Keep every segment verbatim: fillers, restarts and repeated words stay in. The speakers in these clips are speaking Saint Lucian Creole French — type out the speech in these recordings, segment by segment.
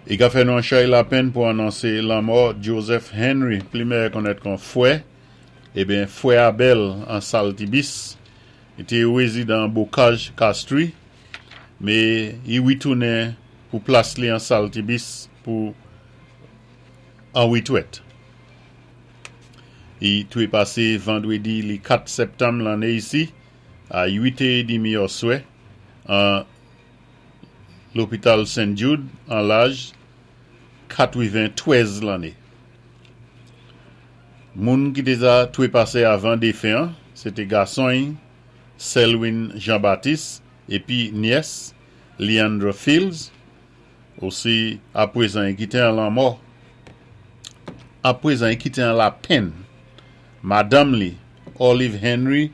I ka fè nou an chay lapenn pou anonsé lanmò Joseph Henry, pli meyè konnèt kon Fwè, ébyen Fwè Abel an Saltibis, i té wézidan Bocage Castries, mé i witounen pou plas li an Saltibis pou an witwèt. I touwé pasé vandwédi li kat septanm lanné isi, a uit é dimi oswè, an lopital Saint Jude, an laj katwenntwèz lanné. Moun ki té za touwé pasé avan défen an, sé té gason Selwyn Jean-Baptiste épi nyès Leandra Fields, osi apwézan i kité an lanmò. Apwézan i kité an lapenn. Madanm li, Olive Henry,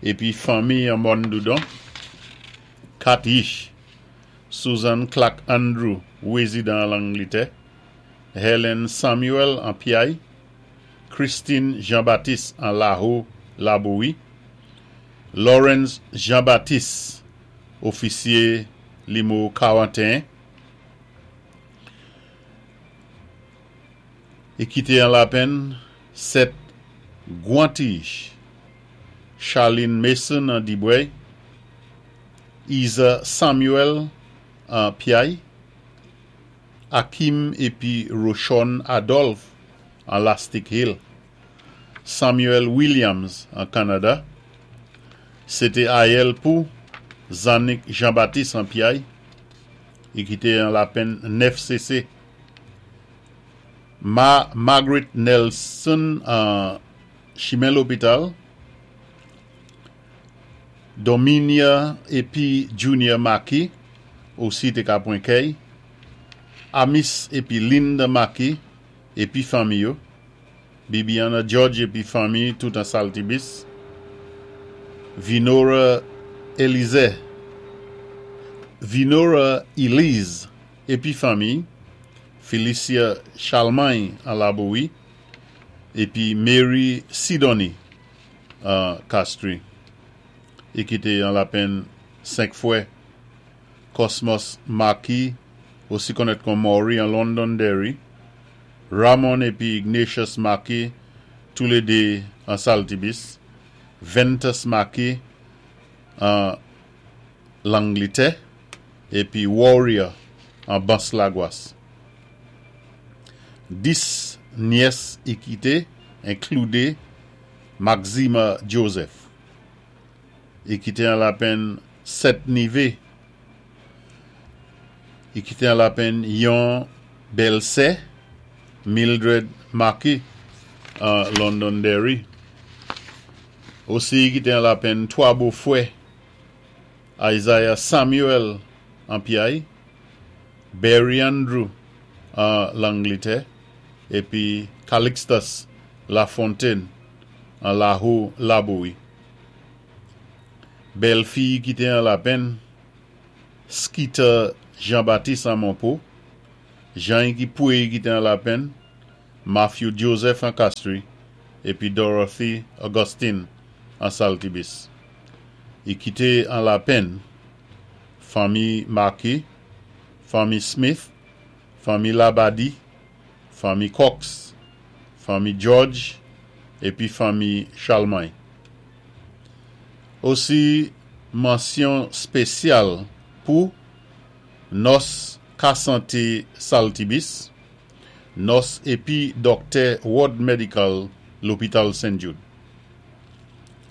épi fanmi an Mòn Doudon. Kat yich, Susan Clark Andrew, wézidan Langlitè. Helen Samuel an Piaye. Christine Jean-Baptiste an Laho Laboui. Lawrence Jean-Baptiste, ofisyé nimewo karanteyen. I kité an lapenn sèt gwan ti yich, Charlene Mason an Dibwèy, Isa Samuel an Piaye, Akim épi Rochon Adolphe an Lastic Hill, Samuel Williams an Kanada, sé té ayèl pou Zanik Jean-Baptiste an Piaye, i kité an lapenn nèf sésé. Ma Margaret Nelson an Chimen Lopital, Dominia épi Junior Maki, osi té ka pwan kèy, Amis épi Linda Maki, épi fanmi yo, Bibiana George épi fanmi tout an Saltibis, Vinora Elize, Vinora Elise épi fanmi, Felicia Charlemagne an Laboui, épi Mary Sidonie an Castries. I kité an lapenn senk fwè. Cosmos Maki, osi konnèt kon Maury an Londonderry, Ramon épi Ignatius Maki, toulédé an Saltibis, Ventus Maki an Langlitè, épi Warrior an Bans Lagwas. Dis nyès i kité, enkloudé Maxima Joseph. I kité an lapenn sèt nivé. I kité an lapenn yon bèlsè, Mildred Maki an Londonderry. Osi i kité an lapenn twa bofwè, Isaiah Samuel an Piaye, Barry Andrew an Langlitè, épi Calixtus Lafontaine an Laho Laboui. Bèlfi i kité an lapenn, Skeeter Jean-Baptiste an Monpo, Jean ki poué i kité an lapenn, Matthew Joseph an Castries, épi Dorothy Augustine an Saltibis. I kité an lapenn, fanmi Maki, fanmi Smith, fanmi Labadi, fanmi Cox, fanmi George, épi fanmi Charlemagne. Osi mansyon spésyal pou Nòs Kasanté Saltibis, nòs épi dòktè Ward Medical lopital Saint Jude.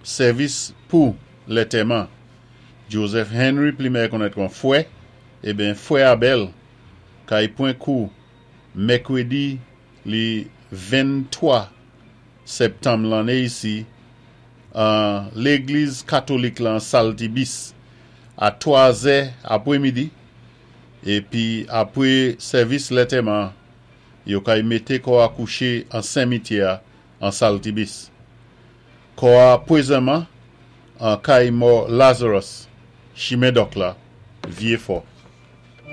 Sèvis pou lantèman Joseph Henry, pli meyè konnèt kon Fwè, ébyen Fwè Abel, kay pwan kou mèkwédi li venntwa septanm lanné isi an légliz katolik lan Saltibis a twa zè apwémidi, épi apwé sèvis lantèman yo kay mété kò a kouché an simityè an Saltibis. Kò a pwézanman an kay mò Lazarus, Chimen Dòk la, Vyé Fò.